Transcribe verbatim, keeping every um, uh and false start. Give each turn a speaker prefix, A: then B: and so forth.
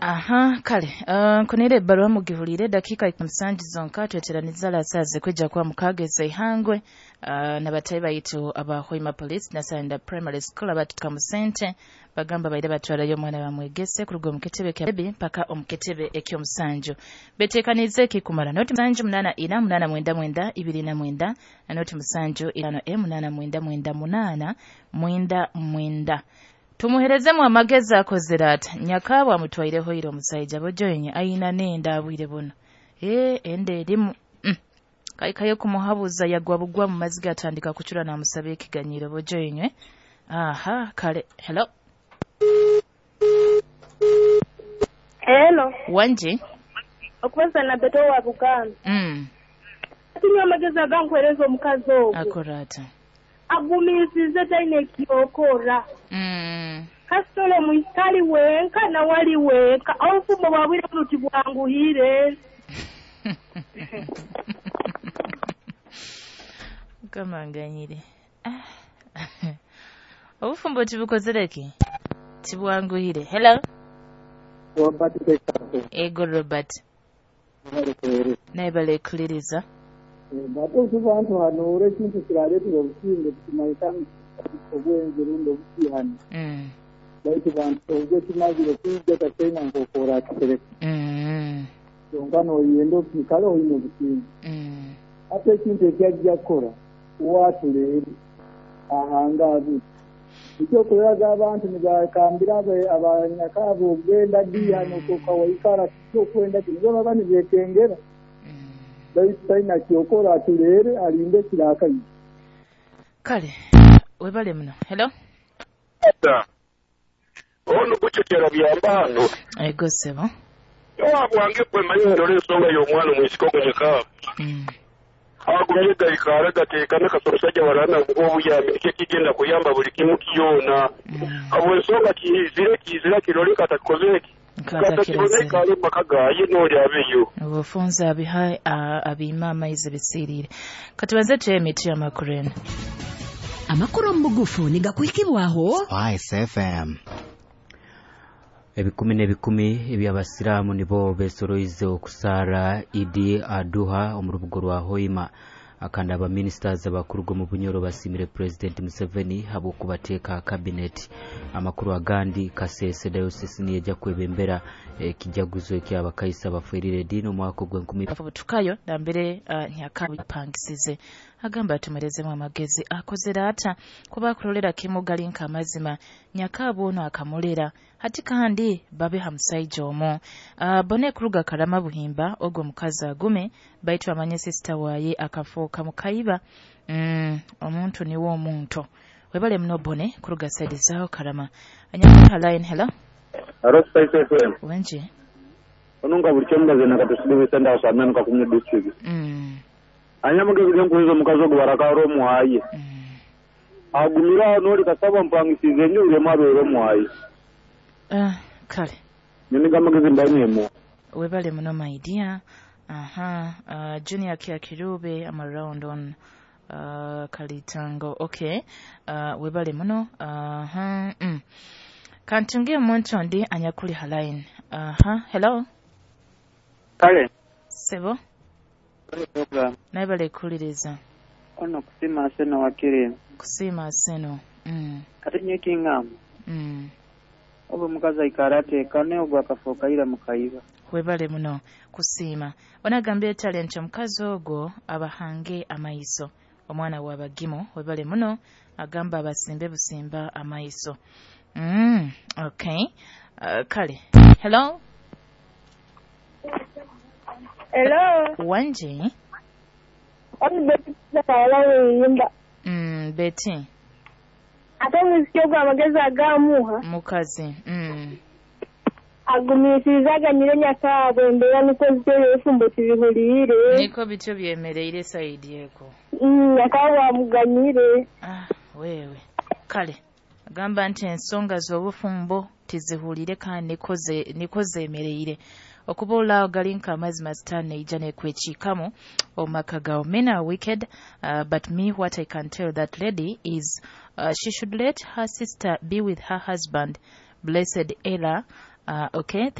A: Aha, kale uh, nkunire ebbaluwa mugihulire dakiika musanju zonka tweteraniza lasaze kwijja kuba mukaaga ezeihangwe uh, nabatayi baitu aba Hoima Police Nasanda Primary School abatuka mu sente bagamba baire batwarayo omwana bamwegese kuruga omu kitebe kya Bebi mpaka omu kitebe eky'omusanju. Beteekanize ekikumara noti musanju munaana ina munaana mwenda mwenda ibiri na mwenda na noti musanju itaano e munaana mwenda mwenda munaana mwenda mwenda. Tumuherezemu amagezi akozere ata nyakaabwe amutwaireho ira omusaija bojoyinye ayina nenda abwire buno ee enda erimu mm. Kaikayo kumuhabuza yagwa bugwa mu maziga atandika kucura namusaba ekiganyiro bojoyinywe. Aha, kale. Hello.
B: Hello.
A: Wanji
B: okubaza na Beto wa Buganda.
A: Mm.
B: Atinywa amagezi agankuhereza omukazi ogwo
A: akora ata
B: agumisize taine ekyokora.
A: Mm.
B: Kasitole mwikali wenka na wali wenka obufumo bwabwire buno tibwanguhire.
A: Mukama nganyire. Ah. Obufumbo tibukozere ki? Tibwanguhire. Hello.
C: Robert Kekato.
A: Ego Robert. Naye balekuliriza.
C: Ate otubantu hano ora ekintu kirareetera obusinge tukimanyika obwenzi rundi obusihani.
A: Mm.
C: Baitu bantu obwo kimazire kwija takyena nk'okora akitereka.
A: Mm.
C: Kyonka n'oyenda okwikara oine obusinge.
A: Mm.
C: Ate ekintu ekyajja kukora watuleere ahanga abi. Ekyokureraga abantu nibakambira abanyakaabo ogenda ddi hano kokawaikara kyokwenda kino bo baba nibekengera. Baitu talina kyokora atuleere alinde kirakayi.
A: Kale webale muno. Hello.
D: Ono gucecera byambano.
A: Ego sebo.
D: Wabwange kwe manyi ndole ensonga y'omwana omwisiko gunyeka.
A: Mm.
D: Agumye gaikara gateekane kasoro warana obuyambi nikyo kigenda kuyamba buli kimu kyona.
A: Mm.
D: Abo ensonga kizire kizira kirole katakoze ki.
A: Katakirozere.
D: Kale maka gaye n'oli abeyo.
A: Obufunza abiha abima amaizi bisirire. Katubanze tuye emiti y'amakuru eno.
E: Amakuru omu bugufu nigakuhikibwaho
F: Spice F M.
G: Ebikumi n'ebikumi eby'abasiraamu nibo besoroize okusaara Idi Aduha omu rubugo rwa Hoima. Akandi abaministers abakuruga omu Bunyoro basimire President Museveni habw'okubateeka cabinet. Amakuru agandi Kasese Diocese niyeja kwebembera ekijaguzo eky'abakaisa baferire ediini omwaka ogw'enkumi
A: Butukayo nambere uh, nyakapangisize agamba atumerezemu amagezi akozere ata kuba akulolera kimu gali nka amazima nyakaabo ono akamulera hati kandi babe hamusaija omu. Uh, bone kuruga Karama Buhimba ogwo mukazi agume baitu amanye sister waye akafuuka mukaiba. Mm, omuntu niwo omuntu webale muno bone kuruga side zao Karama. Anyaka line. Hello.
D: Hello Spice F M.
A: Wenje
D: Onunga buli kyemugaze nakatusibe senda asamenu kakumye district.
A: Mm.
D: Anyamugezi genkuhiza omukazi ogwo barakara omuhaye.
A: Mm.
D: Agumira n'oli kasaba mpangisize ennyo buli omu abeere omuhaye.
A: Uh, kale
D: Niniga amagezi mbanyemu.
A: Webale muno my dear. Aha, uh, Junior Kia Kirube I'm around on uh, Kalitango. Okay. Uh, webale muno. Aha. Mm. Kantunge omuntu ondi anyakuli halaini. Aha, hello.
C: Kale.
A: Sebo.
C: Program.
A: Naye balekuliriza.
C: Ono kusima aseno wakiri.
A: Kusima aseno. Mm.
C: Ate nyekingamba.
A: Mm.
C: Oba omukazi aikara ateekane ogwo akafuuka ira mukaiba.
A: Webale muno kusiima. Onagambye talent omukazi ogwo abahange amaiso. Omwana w'abagimu webale muno agamba abasimbe busimba amaiso. Mm, okay. Uh, kale. Hello.
B: Hello.
A: Wanji.
B: Oni Betty kawala weyimba.
A: Mm, Betty.
B: Ate omuziki ogwo amagezi agamuha.
A: Mukazi. Mm.
B: Agumisiriza aganyire nyakaabwe embeera niko zityo ebifumbo tibihuriire.
A: Niko bityo byemereire sayidi eko.
B: Mm, nyakaabwe amuganyire.
A: Ah, wewe. Kale. Agamba nti ensonga z'obufumbo tizihulire kandi niko ze niko zemereire. Okuba olaawo gali nka amazima sitaani neija nekwekiikamu omumaka gawo. Men are wicked, uh, but me what I can tell that lady is uh, she should let her sister be with her husband. Blessed Ella. Uh, okay.